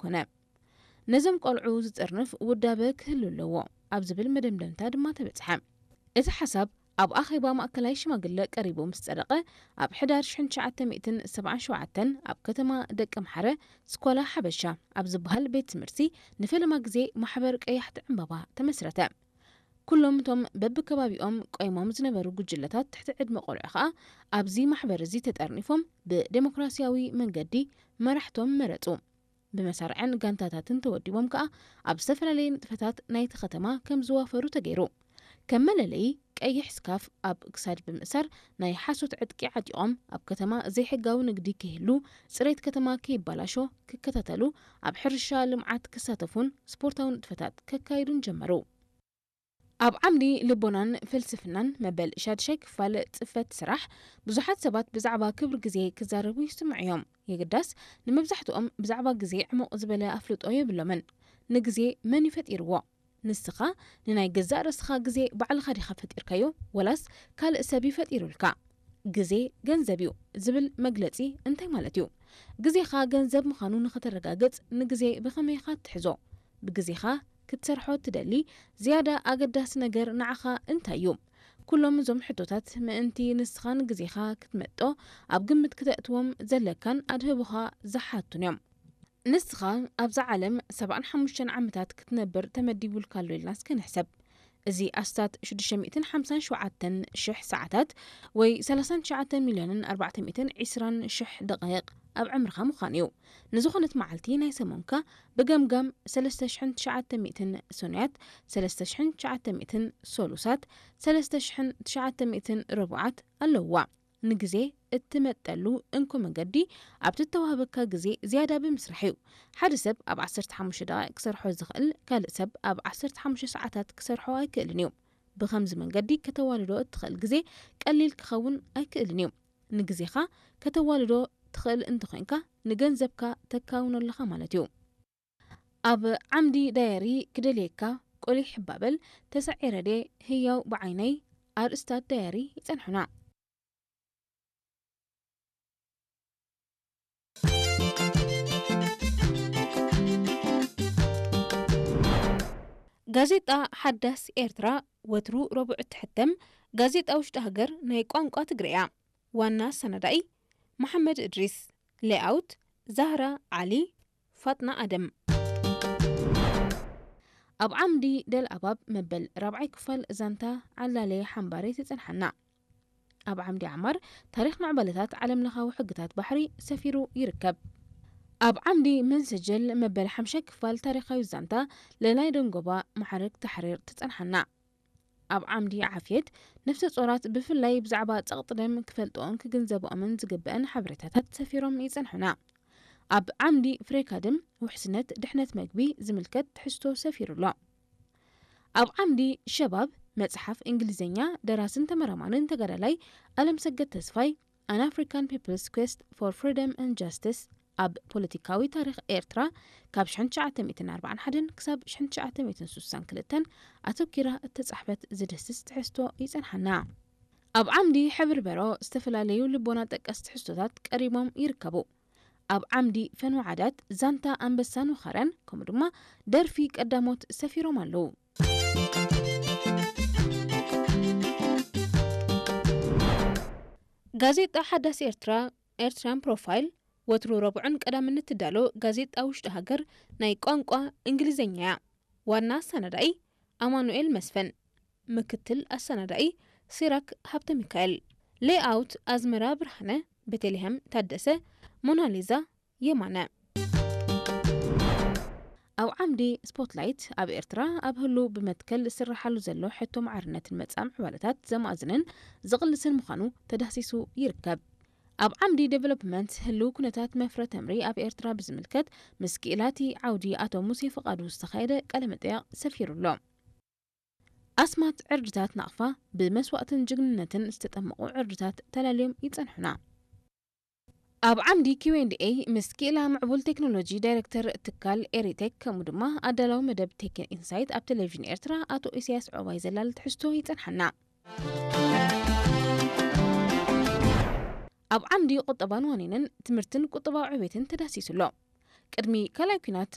ኣይኮነ። ነዞም ቆልዑ ዝጥርንፍ ውዳበ ክህሉ ኣለዎ ኣብ ዝብል መደምደምታ ድማ ተበጽሐ። እቲ ሓሳብ ኣብ ኣኼባ ማእከላይ ሽማግለ ቀሪቡ ምስ ጸደቐ፣ ኣብ ሕዳር ሽሕን ትሽዓተ ሚእትን ሰብዓን ሸውዓተን ኣብ ከተማ ደቀምሓረ ስኳላ ሓበሻ ኣብ ዝበሃል ቤት ትምህርቲ ንፈለማ ግዜ ማሕበር ቀያሕቲ ዕምባባ ተመስረተ። ኩሎም እቶም በብከባቢኦም ቆይሞም ዝነበሩ ጉጅለታት ትሕቲ ዕድመ ቆልዑ ከኣ ኣብዚ ማሕበር እዚ ተጠርኒፎም ብዴሞክራሲያዊ መንገዲ መራሕቶም መረጹ። ብመሳርዕን ጋንታታትን ተወዲቦም ከኣ ኣብ ዝተፈላለየ ንጥፈታት ናይቲ ከተማ ከም ዝዋፈሩ ተገይሩ። ከም መለለዪ ቀይሕ ስካፍ ኣብ ክሳድ ብምእሳር ናይ ሓሶት ዕጥቂ ዓጢቖም ኣብ ከተማ ዘይሕጋዊ ንግዲ ከይህሉ፣ ጽሬት ከተማ ከይባላሾ ክከታተሉ፣ ኣብ ሕርሻ ልምዓት ክሳተፉን ስፖርታዊ ንጥፈታት ከካይዱን ጀመሩ። ኣብ ዓምዲ ልቦናን ፍልስፍናን መበል ሻድሻይ ክፋል ጽፈት ስራሕ ብዙሓት ሰባት ብዛዕባ ክብሪ ግዜ ክዛረቡ ይስምዑ እዮም። የግዳስ ንመብዛሕትኦም ብዛዕባ ግዜ ዕሙቕ ዝበለ ኣፍልጦ የብሎምን። ንግዜ መን እዩ ፈጢርዎ? ንስኻ ንናይ ገዛእ ርእስኻ ግዜ ባዕልኻ ዲኻ ፈጢርካዮ ወላስ ካልእ ሰብ እዩ ፈጢሩልካ? ግዜ ገንዘብ እዩ ዝብል መግለጺ እንታይ ማለት እዩ? ግዜኻ ገንዘብ ምዃኑ ንኸተረጋግጽ ንግዜ ብኸመይ ኢኻ ትሕዞ? ብግዜኻ ክትሰርሖ ትደሊ ዝያዳ ኣገዳሲ ነገር ንዓኻ እንታይ እዩ? ኩሎም እዞም ሕቶታት ምእንቲ ንስኻ ንግዜኻ ክትመጦ ኣብ ግምት ክተእትዎም ዘለካን ኣድህቦኻ ዝሓቱን እዮም። ንስኻ ኣብዛ ዓለም ሰብዓን ሓሙሽተን ዓመታት ክትነብር ተመዲቡልካ ኣሎ ኢልና እስከ ንሕሰብ። እዚ ኣስታት ሽዱሽተ ሚእትን ሓምሳን ሸውዓተን ሽሕ ሰዓታት ወይ ሰላሳን ትሽዓተ ሚልዮንን ኣርባዕተ ሚእትን ዕስራን ሽሕ ደቓይቕ ኣብ ዕምርኻ ምዃን እዩ። ንዝኾነት መዓልቲ ናይ ሰሙንካ ብገምጋም ሰለስተ ሽሕን ትሽዓተ ሚእትን ሰኑያት፣ ሰለስተ ሽሕን ትሽዓተ ሚእትን ሰሉሳት፣ ሰለስተ ሽሕን ትሽዓተ ሚእትን ረቡዓት ኣለውዋ። ንግዜ እትመጠሉ እንኮ መገዲ ኣብ ትተዋህበካ ግዜ ዝያዳ ብምስራሕ እዩ። ሓደ ሰብ ኣብ ዓሰርተ ሓሙሽተ ደቓይቕ ክሰርሖ ዝኽእል፣ ካልእ ሰብ ኣብ ዓሰርተ ሓሙሽተ ሰዓታት ክሰርሖ ኣይክእልን እዩ። ብኸምዚ መንገዲ ከተዋልዶ እትኽእል ግዜ ቀሊል ክኸውን ኣይክእልን እዩ። ንግዜኻ ከተዋልዶ ትኽእል እንተኾይንካ፣ ንገንዘብካ ተካውኖ ኣለኻ ማለት እዩ። ኣብ ዓምዲ ዳየሪ ክደልየካ ቆሊሕ ባበል ተሳዒረ ድየ ህያው ብዓይነይ ኣርእስታት ዳየሪ ይጸንሑና። ጋዜጣ ሓዳስ ኤርትራ ወትሩ ረቡዕ እትሕተም ጋዜጣ ውሽጢ ሃገር ናይ ቋንቋ ትግርኛ። ዋና ኣሰናዳኢ መሓመድ እድሪስ። ሌኣውት ዛህራ ዓሊ፣ ፋጥና ኣደም። ኣብ ዓምዲ ደል ኣባብ መበል ራብዓይ ክፋል ዛንታ ዓላለ ሓምባረ ትጸንሓና። ኣብ ዓምዲ ዓማር ታሪኽ ምዕባለታት ዓለምለኻዊ ሕግታት ባሕሪ ሰፊሩ ይርከብ። ኣብ ዓምዲ መንሰጀል መበል ሓምሻይ ክፋል ታሪኻዊ ዛንታ ለላይ ደንጎባ ማዕረግ ታሕሪር ትጸንሓና። ኣብ ዓምዲ ዓፍየት ነፍሰ ጾራት ብፍላይ ብዛዕባ ጸቕጢ ደም ክፈልጥኦን ክግንዘብኦምን ዝግበአን ሓበሬታታት ሰፊሮም ይጸንሑና። ኣብ ዓምዲ ፍሬካድም ውሕስነት ድሕነት መግቢ ዝምልከት ትሕዝቶ ሰፊሩ ኣሎ። ኣብ ዓምዲ ሸባብ መጽሓፍ እንግሊዝኛ ደራስን ተመራማርን ተጋዳላይ ኣለምሰገድ ተስፋይ An African People's Quest for Freedom and Justice ኣብ ፖለቲካዊ ታሪኽ ኤርትራ ካብ ሽሕን ትሽዓተ ሚእትን ኣርባዓን ሓደን ክሳብ ሽሕን ትሽዓተ ሚእትን ስሳን ክልተን ኣተኲራ እተጻሕፈት ዝድህስስ ትሕዝቶ ይጸንሓና። ኣብ ዓምዲ ሕብሪ በሮ ዝተፈላለዩ ልቦና ጠቀስ ትሕዝቶታት ቀሪቦም ይርከቡ። ኣብ ዓምዲ ፈንወ ዓዳት ዛንታ ኣንበሳን ወኻርያን ከምኡ ድማ ደርፊ ቀዳሞት ሰፊሮም ኣለዉ። ጋዜጣ ሓዳስ ኤርትራ፣ ኤርትራን ፕሮፋይል፣ ወትሩ ረቡዕን ቀዳምን እትዳሎ ጋዜጣ ውሽጢ ሃገር ናይ ቋንቋ እንግሊዝኛ እያ። ዋና ኣሰናዳኢ ኣማኑኤል መስፍን፣ ምክትል ኣሰናዳኢ ሲራክ ሃብተ ሚካኤል፣ ሌኣውት ኣዝመራ ብርሃነ፣ ቤተልሔም ታደሰ፣ ሞናሊዛ የማነ። ኣብ ዓምዲ ስፖትላይት ኣብ ኤርትራ ኣብ ህሉው ብመትከል ዝስርሓሉ ዘሎ ሕቶ ማዕርነትን መጻኢ ምዕባለታት ዘማእዝንን ዝቕልስን ምዃኑ ተዳህሲሱ ይርከብ። ኣብ ዓምዲ ዴቨሎፕመንት ህሉው ኩነታት መፍረ ተምሪ ኣብ ኤርትራ ብዝምልከት ምስ ክኢላቲ ዓውዲ ኣቶ ሙሴ ፍቓዱ ዝተኻየደ ቃለ መጠይቕ ሰፊሩ ኣሎ። ኣስማት ዕርድታት ናቕፋ ብመስዋእትን ጅግንነትን ዝተጠመቑ ዕርድታት ተላልዮም ይጸንሑና። ኣብ ዓምዲ ኪው ኤንድ ኤይ ምስ ክኢላ ምዕቡል ቴክኖሎጂ ዳይሬክተር ትካል ኤሪቴክ ከምኡ ድማ ኣዳላዊ መደብ ቴክ ኢንሳይት ኣብ ቴሌቪዥን ኤርትራ ኣቶ ኢሳያስ ዑቕባይ ዘላሊ ትሕዝቶ ይጸንሓና። ኣብ ዓምዲ ቁጠባን ዋኒንን ትምህርትን ቁጠባዊ ዕቤትን ተዳሲሱ ኣሎ። ቅድሚ ካልኣይ ኲናት